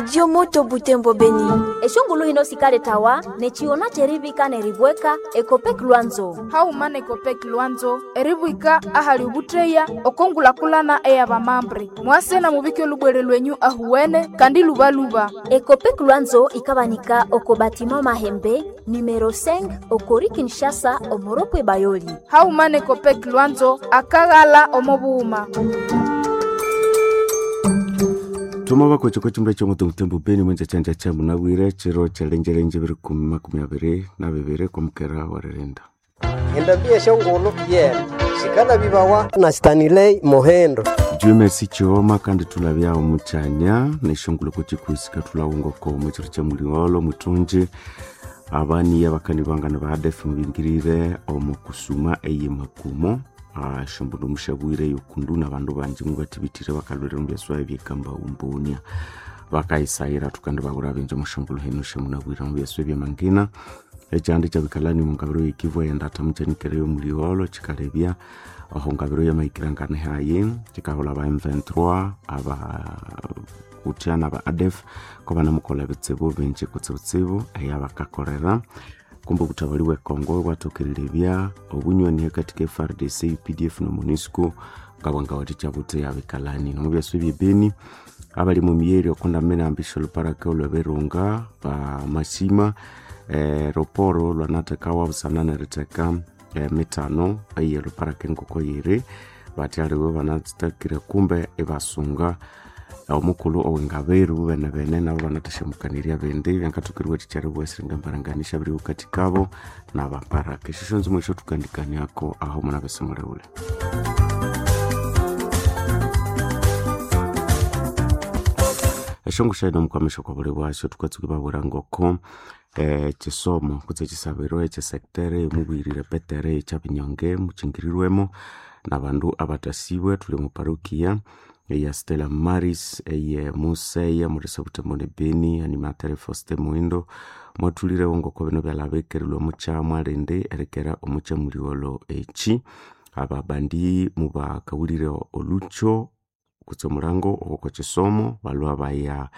Radio Moto Butembo Beni. Eshongulu hino sikaletawa nechiona cherivika neribweka Ekopek Lwanzo. Hauma nekopek Lwanzo eribwika ahali ubutreya okongulakulana eyabamambre mwase na mubike olubwere lwenyu ahuwene kandi lubaluba. Ekopek Lwanzo ikabanika oko batima Mahembe numero 5 okori Kinshasa omoropwe Bayoli. Hauma nekopek Lwanzo akaghala omobuuma. Tuma bakocho chimbe cho mutu mutembo Beni mwenja chanja cha munabwire chiro chalenjelenje biri kumi makumi abiri na bibiri kumukera warerenda. Endambia shongolo yena sikala bibawa na Stanley Mohendo. Dieu merci chioma kandi tulabya omuchanya neshongolo kuchikuisika tulawungoko muchiro cha muliwolo mutunji abani abakani bangana ba ADF mubingirire omu kusuma eye makumo shombuno mushabwire yokundu nabandu banji mubatibitire bakalwere mubyaswa ebyekamba umbunia bakaisayira tukandi babura benje mushongolo hino shemunabwira mubyaswa ebyamangina ekyandi kyabikalani mungabiro yekivwa yendata mukyanikireyo muliwolo kikalebya aho ngabiro yamaikirangane hayi kikahola ba M23 aba kutya naba ADF ko banamukola bitsibu bingi kutsibutsibu eyabakakorera kumbe obutabali bwe Congo bwathokerere obunywani hakati ka FARDC UPDF no MONUSCO ngabwangawathikya buthi abikalani nomubyaso ebyebeni abali mu miyeri okundamene ambisha oluparaka olweberunga ba mashima roporo lwanathekawa busana neritheka mitano eye luparaka engoko yiri bathi aliwe banathakire kumbe ibasunga omukulhu owengaberu bene bene nabo banathasyamukaniria bindi byangathokeriwa thikyaribwa esiringa mbaranganisha biri wukati kabo nabaparaka esyo syonzimo esyo thukandikaniako aho munabese mulewule. Eshongo shaino mukwamisha kwa buli bwasyo tukatsuka babwira ngoko chisomo kutse chisabiro echesektere mubwirire petere ekyabinyonge muchingirirwemo nabandu abatasibwe tuli mu parokia eya Stella Maris eye Museya murisa butembo ne Beni animatere Faustin Muindo mwathulirewo ngoko bino byalabekerilwe mucha mwalindi erekera omucha muliwolo echi ababandi mubakawulire olucho kutse omulango owoko chisomo balwa baya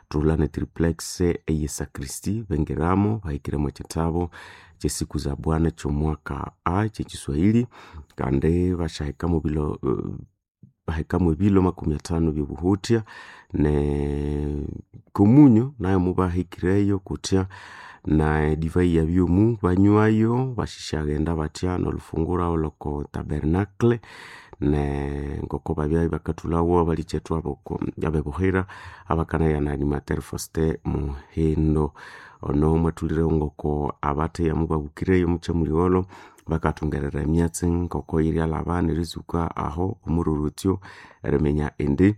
thulha ne triplex eye sakristi bengiramo bahikiremo ekitabo kyesiku za bwana kyomwaka a kyekiswahili kandi bashahikamo bilo bahikamu ebilo makumi atano byobuhutya ne komunyo nayo mubahikireyo kutya na divai ya byomu banywayo bashishaghenda batya nolufungura oloko tabernacle ne ngoko babya bakathulawo abalichethu aboko abebuhira abakanaya na animateur Faustin Muhindo ono mwathulirewo ngoko abatheya mubabukireyo mucha muliwolo bakathungerera emyatsi ngoko yiryalaba nerizuka aho omururutyo eriminya indi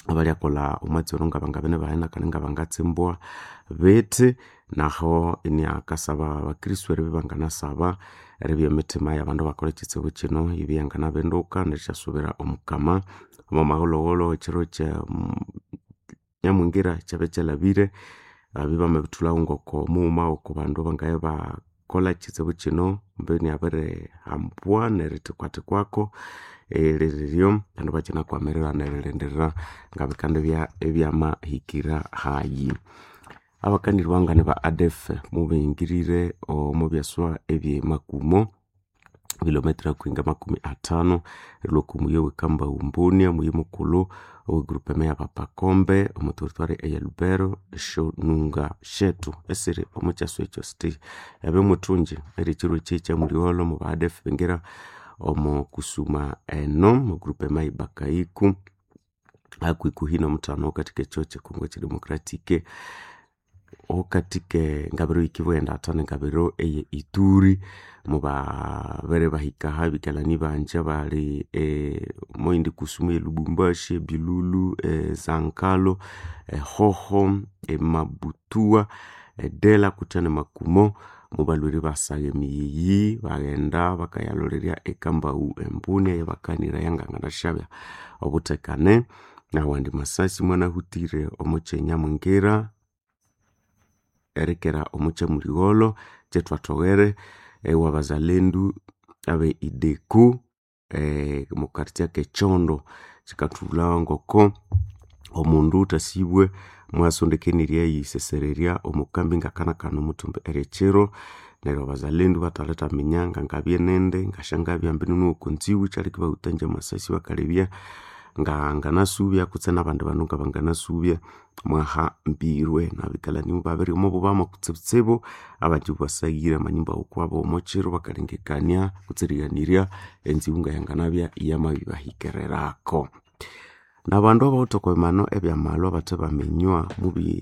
abalyakolha omwatsi ono ngabangabene bahena kandi ngabangatsimbwa bethi naho iniakasaba abakristu eribya banganasaba eribya emitima yabandu bakolha ekitsibu kino ibya yanganabinduka nerisyasubira omukama omo mahulhughulhu ekiro kya nyamwingira kyabya kyalhabire ababya bamabithulhawo ngoko mughuma oko bandu bangabya bakolha ekitsibu kino mbeni abirihambwa nerithikwathikwaku eririryo abandu bakyinakwamirirana neririndirira ngabikandibya ebyamahikira hayi. Abakanirwangane ba ADF mubingirire omu byaswa ebyemakumo kilometra kuinga makumi atano erilwa oku muyi owekamba umbunia muyi mukulhu owe groupe ya bapakombe omu territoire eya Lubero eshonunga shetu esiri omu kyaswa ekyo siti ebe muthungi erikyiro ekyi kyamuliwolo mu ba ADF bingira omu kusuma eno mu groupe ibakaiku hakuhikuhi nomutano katika ekyo kyekongo kyedemocratic okatike ngabiro yikibwa endatha ngabiro eye Ituri mubabere bahika ebikalani banje bali moindi kusumu e Lubumbashi, Bilulu, Zankalo, Hoho, Mabutua, Dela kutya ne Makumo mubalwire basagha emiyiyi baghenda bakayalolerya ekambau embuni eyabakanira yanganganashabya obuthekane nawandi masasi mwanahutire omo kyenyamwingira erekera omo kyamuligholo kyethwathoghere ewabazalendu abe ideku mu quartier kekyondo kikathulha ngoko omundu uthasibwe. Mwasondekenirya eyisesererya omukambi ngakanakana omuthumbi eryekiro. Neryo abazalendu bathaletaminya ngangabye nindi ngasyangabya ambi nunuwo konziwu kyaleka ibawutangya amasasi bakalebya nganganasubya kutse nabandi bandu ngabanganasubya mwahambirwe. Nabikalani mubabiri omobubamo kutsibutsibu abanji ibasaghire amanyumba wukwabo omokiro bakalengekania kutse erighanirya enzibu ngayanganabya iyamabibahikererako. Nabandu abawithe okwabimano ebyamalwa bathe baminywa mubi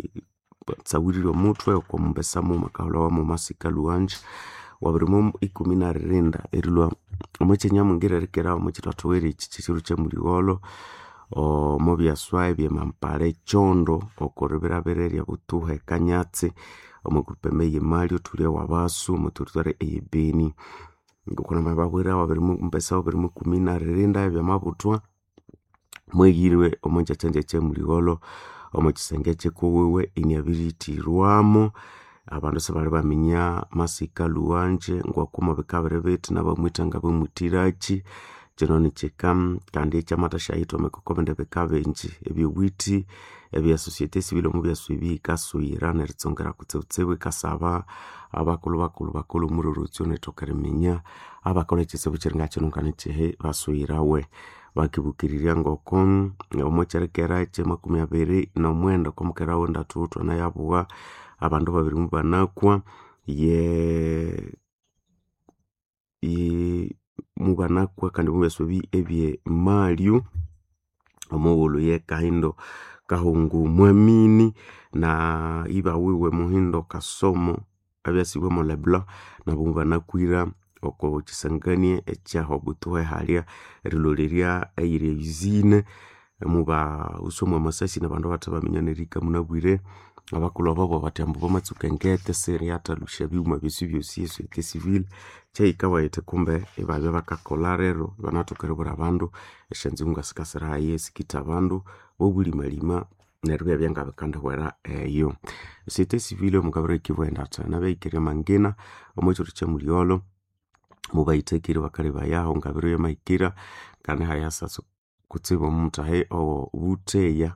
tsawirire omuthwe oko mumbesa mughuma akahulhawa Masika Lhuwanji wabiri mo 18 erilhwa omwekyanyamwingira erikera omwekyithathowere eki kyekiro kyamuligholho omo byaswa ebyemampara ekyondo okoribirabira eryabutuha ekanyatsi omo groupement eyemali othulya wabasu omo territory eye Beni. Ngoko namababwira wabiri mumbesa wabiri mwikumi neririnda ebyamabuthwa mweghirwe omonjakyanjakya ekyamuligholho omo kisenge kyikuwiwe iniabirithirwamo. Abandu sibali baminya Masika Lhuwanje ngokuma bikabiri bithi nabamwitha ngabamwithiraki. Kino nikyika kandi ekyamathasyaghitha omwikoko bindi bika bingi ebyobuthi ebya societe civile omubyaswa ebi yikasuyira neritsongera kutsibutsibu yikasaba abakulhu bakulhu bakolhe omurorotsyo nerithoka eriminya abakolha ekitsibu kyiringa kino nganikyihi basuyirawe. Bakibukirirya ngoko omwekyerikera ekyamakumi abiri nomwenda okwamukera wendathu thwanayabugha abandu babiri mubanakwa ye mubanakwa kandi mubyaswa ebi ebyemalyu omughulhu ye Kahindo Kahungu Mwamini na iba wiwe Muhindo Kasomo abyasibwe mo Leblanc nabo mubanakwira oko kyisanganie ekyahobutuhe halya erilholerya eyiri usine mubawusa mwamasasi nabandu abathe baminya nerihika munabwire. Abakulhu abo bathi ambu bamatsuka engete siriyathalusya ebighuma byosi byosi esociete civile kyahika bayithi kumbe ibabya bakakolha rero ibanathoka eribwira abandu esyanzibu ngasikasira hayi esikitha abandu bobulimalima neryo ibyabya ngabikandihwera eyo. Esociete civile omukabiri ekivu endatha nabahikirye amangina omwekyiro kyamuligholho mubayithakire bakalebayaho ngabiro yamahikira kandi hayasasa kutsibu omuthahi owobutheya.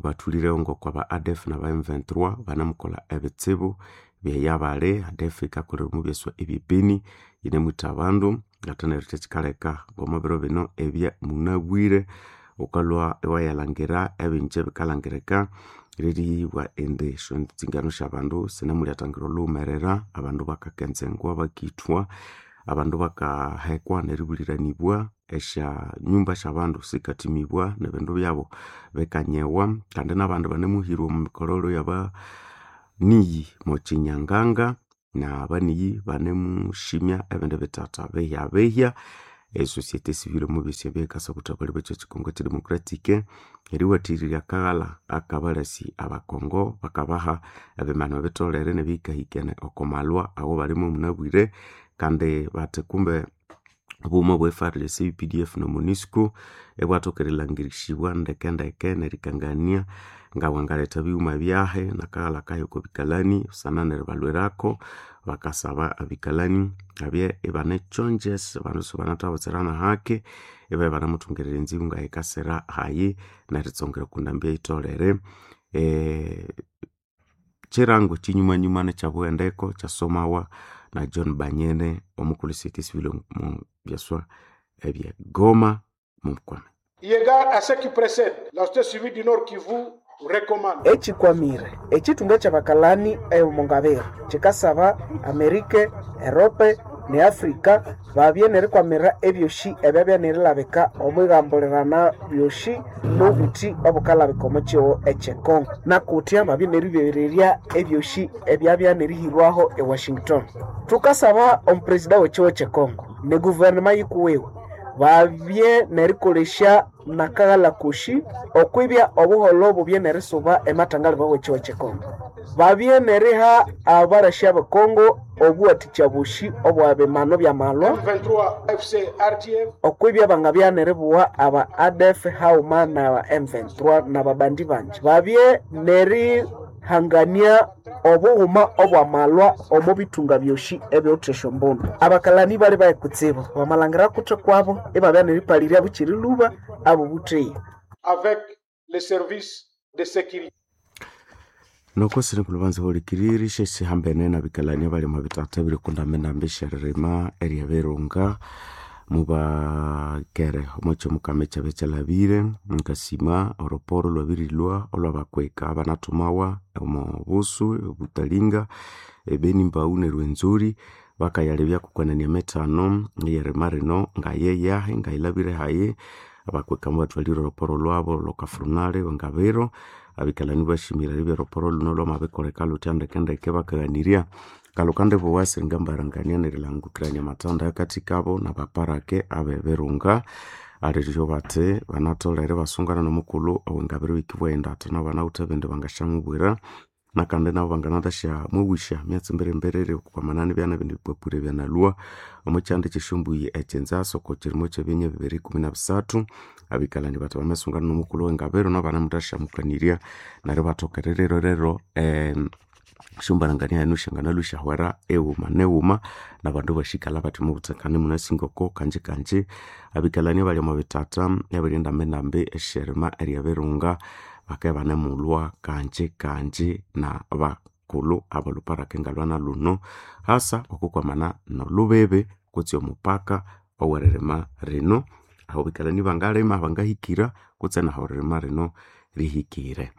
Bathulireho ngoko aba ADF naba M23 banamukolha ebitsibu byeyabali. ADF yikakolera omubyaswa ebyebeni yinemwitha abandu ate neryo kyekyikaleka ngomwabiro bino ebya munabwire wukalhwa iwayalhangira ebingi ebikalhangirika liribwa indi esyanzingano syabandu sinemulyathangirwa olhughumerera abandu bakakenzengwa bakithwa abandu bakahekwa neribuliranibwa esyanyumba syabandu sikathimibwa nebindu byabu bikanyewa kandi nabandu banemuhirwa omumikololo yabaniyi mokyinyanganga nabaniyi banemushimya ebindi bithatha bihyabihya. Esociete civile omubyosi ebyo yikasa obuthabalhi bwekyo kyikongo kyedemocratic eriwathirirya akaghalha akabalasi abakongo bakabaha ebimanu ebitholere nebihikahikene okomalwa awo balimo munabwire kandi bathi kumbe obughuma bwe FARDC, UPDF no MONUSCO ibwathoka erilhangirisibwa ndekendeke nerikangania ngawangaletha ebighuma byahi nakaghalha kahi okobikalani busana neribalhwirako. Bakasaba abikalani abye ibanekyongyesa abandu sibanathabutsira nahaki ibabya ibanamuthungirira enzibu ngayikasira hayi neritsongera okundambi eyitholere. Kyirango kyinyumanyuma nekyabughendeko kyasomawa na John Banyene omukulhu societe civile omu byaswa ebye Goma mukwame. Eu égard à ce qui précède, la société civile du Nord Kivu recommande Ekikwamire ekithunga kyabakalani ey'omungabiro kikasaba Amerika, Erope ne Afrika babye nerikwamirira ebyosi ebyabya nerilabika omwigambulirana byosi nobuthi obukalabika omo kihugho ekye Congo nakutya babye neribererya ebyosi ebyabya nerihirwaho e Washington. Thukasaba omupresida w'ekihugho kye Congo ne guverinema yikuwiwe babye nerikolesya nakaghalha kosi okwibya obuholho bubye nerisuba ematangaliba w'ekihugho kye Congo. Babye neriha abarasi abe Congo obuwathikya bosi obwa bimano byamalwa M23 FC RTF okwibya bangabya neribuwa aba ADF haghuma na M23 nababandi bangi. Babye nerihangania obughuma obwamalwa omo bithunga byosi ebiwithe esyombundu. Abakalani bali bayi kutsibu bamalhangira kuthi kwabo ibabya neripalirya bukyiri lhuba abo butheya. avec les services de sécurité. Nokosire kulubanza hulikiriri shesihambene nabikalania bali omu bitata ebirikundamendambi esyaririma eryebirunga mubakere omwakyo mukama ekyabya kyalhabire nkasima oroporo lwabirilhwa olwabakweka abanathumawa omo busu obutalinga ebeni mbaghu nerwenzori bakayalebya kukwanania emithano eyerima rino ngayeyahi ngayilhabire hayi. Abakweka mubathwalire oroporo lwabu olhwakafurunali ngabiro. Abikalani bashimire eribya oroporo lhuno lhwamabikoleka lhuthya ndekendeke bakaghanirya ngalhukandibuwa siringambarangania nerilangukirania amathanda ahakathikabo nabaparake abebirunga. Aliryo bathi banatholere ibasungana nomukulhu owengabiro eyikibugha indi athi nabo banawithe ebindi bangasyamubwira nakandi nabo banganathasyamubusya emyatsi mbirimbiri okwamanana ibya nebindi bipapura ebyanalhwa omwakyanda kyesyombuyi ekyenzasa okwakyirimo kyebinya 2013. Abikalani bathi bamasungana nomukulhu owengabiro nabo banemuthasyamukaniria neryo ibathoka erirerero esyombarangania enu syanganalhwa isyahwera eghuma neghuma nabandu ibasyikalha bathi omwabuthekane imunasi ngoko kanjikanji. Abikalani abali omwabithatha ebiri ndambindambi esyerima eryebirunga bakabya ibanemulhwa kanjikanji nabakulhu abolhuparaka ngalhwa nalhuno hasa okwikwamana nolhubibi kutse omupaka oweririma rino aho abikalani bangalima bangahikira kutse nahu eririma rino rihikire.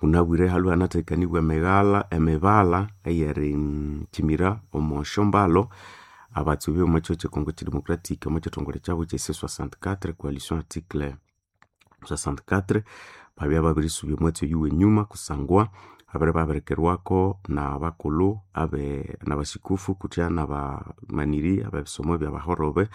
Munabwire halhwe ihanathekanibwa emighalha emibala eyerikyimira omwasyombalo abatsubi omwakyihugho kye Congo kye democratic omwakyithongole kyabu kye C64 coalition article 64 babya babirisubya omwatsi oyu wenyuma kusangwa babere babirikirwako nabakulhu abe nabasikufu kutya nabamaniri abebisomo ebyabahorobe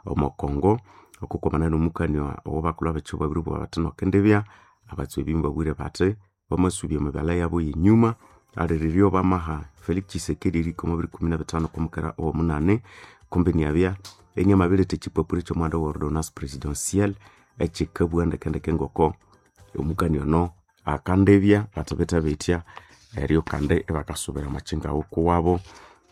omo Congo okwikwamana nomukania owabakulhu abekyihugho babiribugha bathi nokendibya abatsubi mubabwire bathi bamasubya emibala yabu yenyuma aliriryo bamaha Felix Tshisekedi erihika omwa 2015 okwamukera owomunani kumbi inabya inamabiretha ekyipapura ekyomuhanda owa ordonnance presidentielle ekyikabugha ndekendeke ngoko omukania ono akandibya bathibithe bithya eryo kandi ibakasubira omwakyinga kuwabo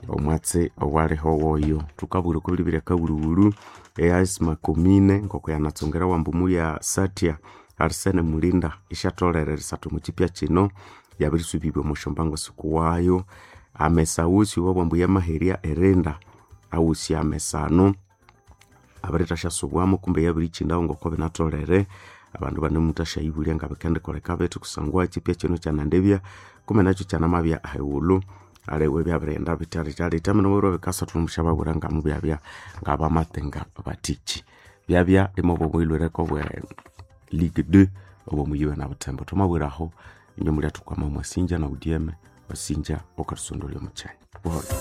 omwatsi owaliho woyo. Thukabwira okwa akawulhuwulhu eas makomine ngoko yanatsongera wambu ya satya Arsene Mulinda isyatholere erisatha omwakyipya kino yabirisubibwa omwasyombango sikuwayo. Amesa wusi owabwambu yamaherya erinda awusi amesa anu abirithasyasubwamu kumbe yabirikyindawu ngoko binatholere abandu banemuthasyayibulya ngabikendikoleka bithi kusangwa ekyipya kino kyanandibya kumbe nakyo kyanamabya ahighulhu aliwe ibyabirighenda bithalithalitha minobwire bikasa thunemusyababwira ngamubyabya ngabamatenga bathiki. Byabya imwabwa obwe Ligue 2 obwomuyiwe nabuthembo. Thwamabwiraho inywe mulyathukama mwasinja na udyeme wasinja okathusondolya omukyanya. Buholho.